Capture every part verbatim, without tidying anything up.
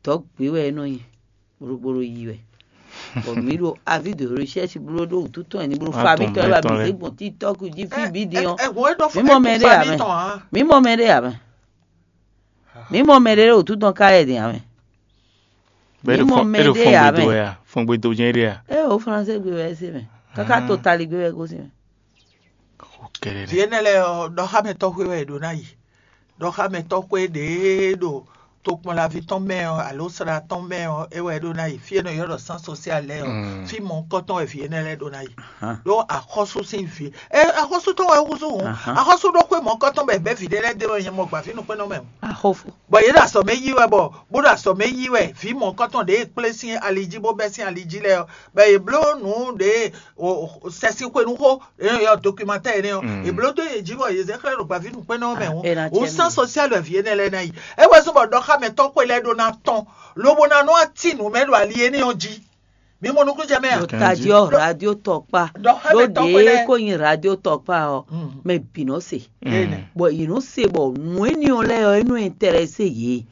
Dɔ̌ gbé wɛ é nɔ nyi, bó ɖo yi wɛ. Bɔ mǐ ɖo avis de recherche bló ɖó wǔtu tɔn wɛ ní bló fa mǐtɔn wɛ, bɔ mǐ zé gbɔn TikTok jí fí bǐ din ɔ́. Mǐ mɔ mɛ ɖé ǎ mɛ. Mǐ mɔ mɛ ɖé ǎ mɛ. Mǐ mɔ mɛ ɖé ɖo wǔtu tɔn ká wɛ din ǎ mɛ. Bɛ́ Mǐ ɖo mɔ fɔn mɛ é ɖo ɖé fɔn ǎ gbe dó mɛ. Wɛ a? Fɔn gbe dó jɛ́n ɖé a? É o français gbe wɛ é se mɛ. Káká to tali gbe wɛ é gosín mɛ. Xo kɛɖɛɖɛ. Vǐ énɛ́ lɛ́ɛ ɔ́, ɖɔxámɛtɔ́ xwé wɛ è ɖǒ ná yi. Ɖɔxámɛtɔ́ xwé ɖě ɖo tokpɔnlaví tɔn mɛ ɔ́, alo sla tɔn mɛ ɔ́, é wɛ é ɖó ná yi. Fí e nɔ ylɔ́ ɖɔ sán sosial lɛ́ɛ ɔ́, fí mɔ̌hunkɔtɔn wɛ vǐ énɛ́ lɛ́ɛ ɖó ná yi. Ɖó axɔ́sú sín vǐ, é axɔ́sú tɔn wɛ é húzú hǔn. Axɔ́sú ɖó xwé mɔ̌hunkɔtɔn bɔ è bɛ̌ vǐ ɖé lɛ́ɛ d'é wɛ nyɛ mɔ gbǎví nukpɛ́nnɔ mɛ. Bɔ yě ɖo azɔ̌ mɛ yí wɛ, bɔ bó ɖo azɔ̌ mɛ yí wɛ, vǐ mɔ̌hunkɔtɔn ɖě e kplé sín ali jí bó bɛ́ sín ali jí lɛ́ɛ ɔ́, bɔ yě bló nǔ ɖě sɛsixwenu xó, é nɔ ylɔ́ dokimatɛ́ énɛ́ ɔ́, è bló dó yě jí bɔ yě zɛ xlɛ́ ɖo gbǎví nukpɛ́nnɔ ɔ́ mɛ hǔn. Wǔ sán sosial wɛ vǐ énɛ́ lɛ́ɛ ná yi. É wɛ zɔ́n bɔ ɖɔxámɛtɔ́ xwé lɛ́ɛ ɖó ná tɔ́n, lobo ná nɔ wá cí nǔ mɛ ɖo ali énɛ́ ɔ́ jí. Mi mɔ nukúnnú jɛ mɛ a? Ɖo tají ɔ́, radio tɔkpa ɖó ɖě kó nyi radio tɔkpa ɔ́, mɛ bǐ nɔ se. Bɔ yě nɔ se bɔ nǔ énɛ́ ɔ́ lɛ́ɛ ɔ́, é nɔ intéressé yě,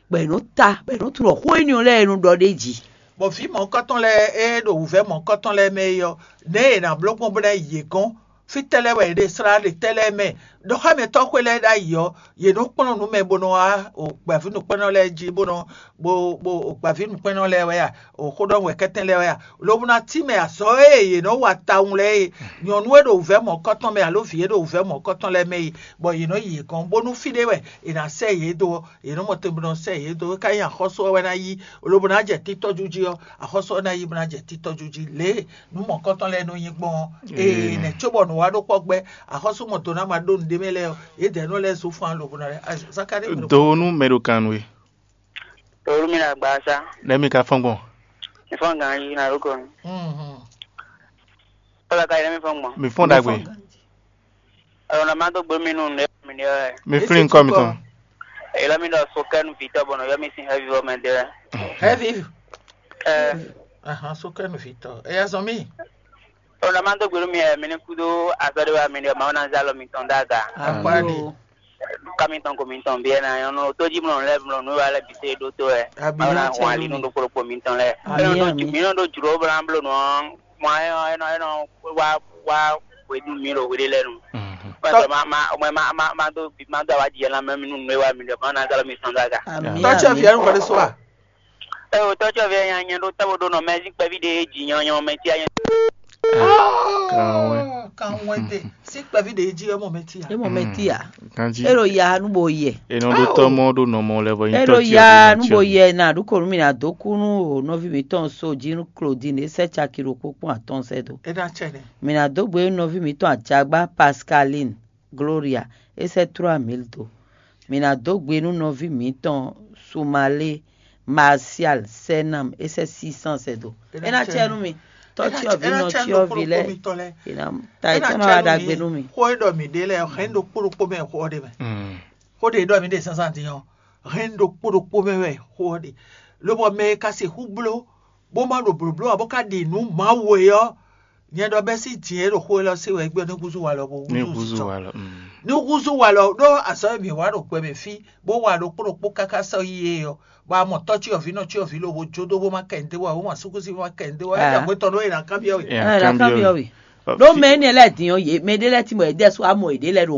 bɔ è nɔ ta, bɔ è nɔ tunwun ɖɔ xó énɛ́ ɔ́ lɛ́ɛ è nɔ ɖɔ ɖ'é jí. Bɔ vǐ mɔ̌hunkɔtɔn lɛ́ɛ e ɖo wǔvɛ́ mɔ̌hunkɔtɔn lɛ́ɛ mɛ é ɔ́, nɛ̌ è nǎ bló gbɔn bó ná yi yě gɔ́n? Fítɛ́ lɛ́ɛ wɛ è ɖe slá ɖe tɛ́ lɛ́ɛ mɛ? Ɖɔxámɛtɔ́ xwé lɛ́ɛ ɖ'ayǐ ɔ́, yě nɔ kplɔ́n nǔ mɛ bó nɔ wá gbɛ̌vínǔkpɛ́nnɔ lɛ́ɛ jí bó nɔ bo bo gbǎvínǔkpɛ́nnɔ lɛ́ɛ wɛ a, xóɖɔ́núwɛkɛ́tɛn lɛ́ɛ wɛ a, lobo ná tínmɛ azɔ̌ e yě nɔ wa tawun lɛ́ɛ e nyɔ̌nu e ɖo wǔvɛ́ mɔ̌kɔtɔn mɛ alo vǐ e ɖo wǔvɛ́ mɔ̌kɔtɔn lɛ́ɛ mɛ e, bɔ yě nɔ yi yě gɔ́n, bónú fí ɖé wɛ è nǎ sɛ yě dó ɔ́, yě nɔ mɔ te bó nɔ sɛ yě dó. É ka nyí axɔ́sú ɔ́ wɛ ná yí, lobo ná jɛ títɔ́jú jí ɔ́, axɔ́sú ɔ́ ná yí bó ná jɛ títɔ́jú jí. Lě e nǔ mɔ̌kɔtɔn lɛ́ɛ nɔ nyí gbɔn ɔ́, ee nɛ̌ cóbɔ nǔ wa ɖó kpɔ́ gbɛ́, axɔ́sú mɔ do ná ma ɖó nǔɖé mɛ lɛ́ɛ ɔ́, yědɛɛ nɔ lɛ́ zó fán lobo nɔ lɛ́. Zakalíi mɛ ɖo Do nú mɛ ɖo kan nú we. Torí mi ɖo agbaza. Nɛ̌ mi ka fɔ́n gbɔn? Mi fɔ́n ganjí na ɖó kɔ. Kɔlɔ ka yi nɛ mi fɔ́n gbɔn. Mi fɔ́n ɖagbe. Ọ̀rọ̀ náà má dó gbé mi nù ní mi ní ɔ́. Mi flín nukɔ mitɔn. Èyí lɔ mi ɖɔ sokɛnu vǐtɔ bɔnɔ yɔ mi sín hɛvivɔ mɛ dé wɛ. Hɛvi. Ɛ Ahan, sokɛnu vǐtɔ. Eya zɔn mí. Ọ̀rọ̀ náà má dó gbé mi ɛ mi ní kúdó azɔ́ ɖé wá mi ní ɔ́, Mawu ná zá lɔ mitɔn dó aga. Akpáɖi. Ká mitɔn ko mitɔn bí ɛ ná nyɔ́ nú tójímlɔ́ lɛ́ɛ mlɔ́ nú wa lɛ́ɛ bǐ sé ɖótó wɛ. Mawu ná hɔn ali nú ɖokpó ɖokpó mitɔn lɛ́ɛ. Amǐ, amǐ. Mi nɔ ɖó jlǒ blanbló nɔ ɔ́, mɔ ɛ nɔ ɛ nɔ wá wá hwedú mi ɖo hweɖé lɛ́ɛ nu. Pɛ́pɛ ma ma ma ma ma ma dó ma dó awájijɛ ná mɛ mi nú nǔ e wá mi ɖɔ ma ná zálɔ mi sɔn dó aga. Amǐ, Tɔ́ ce amǐ. Vǐ ɔ́ nukɔn ɖé só a? Ɛ o tɔ́ ce vǐ ɔ́ nya nyɛ ɖó tábó ɖó nɔ mɛ sín kpɛví ɖé jí nyɔ́ nyɔ́ mɛ tí a nyɛ. Kanwɛ. Kanwɛ de. Sí kpɛví ɖé jí ɔ́ mɔ mɛ tí a? É mɔ mɛ tí a? Kanjí. É ɖo ya nú bo yɛ. Enɔ ɖó tɔ́ mɔ ɖó nɔ mɔ lɛ vɔ É nyitɔ ɖo tí ya ɔ́ nú bo yɛ na ɖu ko nú mi ná dó kú nú o nɔví mǐtɔn so jí nú Claudine é sɛ́ caki ɖokpó kpɔ́n atɔ́ɔ́n sɛ́ dó. É ná cɛ nɛ. Mi ná dó gbe nú nɔví mǐtɔn Ajagba Pascaline Gloria é sɛ́ trois mille dó. Mi ná dó gbe nú nɔví mǐtɔn Sumalé Martial Sɛnam é sɛ́ six cents sɛ́ dó. É ná cɛ nú mi. Tɔ́ cyɔ́vǐ nɔ cyɔ́vǐ lɛ́ɛ. È nǎ ta é tɔ́ ná wá ɖagbe nú mi. Xó e ɖɔ mǐ ɖe lɛ́ɛ hɛn ɖokpó ɖokpó mɛ xó ɔ́ ɖe mɛ. Xó ɖě ɖɔ mǐ ɖe zǎnzǎn din ɔ́, hɛn ɖokpó ɖokpó mɛ wɛ xó ɔ́ ɖe. Lobɔ mɛ e ka sixú bló bó ma ɖo blǒbló ǎ bó ka ɖi nǔ Mawu e ɔ́, nyɛ ɖɔ bɛ́ sín din e ɖo xó élɔ́ se wɛ é gbɛ́ ní húzú walɔ bó Ní húzú húzú sisɔ. Walɔ. Mm. Ní húzú walɔ ɖó azɔ̌ e mǐ wa ɖo gbɛ mɛ fí bó wa ɖokpó ɖokpó káká sɔ́ yi é ɔ́, bɔ a mɔ tɔ́ cyɔ́vǐ nɔ cyɔ́vǐ lobo jó dó bó ma kɛ nǔ dó wá, bó ma súkúsi bó ma kɛ nǔ dó wá, é Ah. jɛ hwetɔn ɖó è nǎ kanbyɔ́ we. É nǎ kanbyɔ́ we. Ɖó mɛ énɛ́ lɛ́ɛ din ɔ́, yě mɛ ɖé lɛ́ɛ tín bɔ yě ɖɛ́ sú amɔ yěɖée lɛ́ɛ ɖo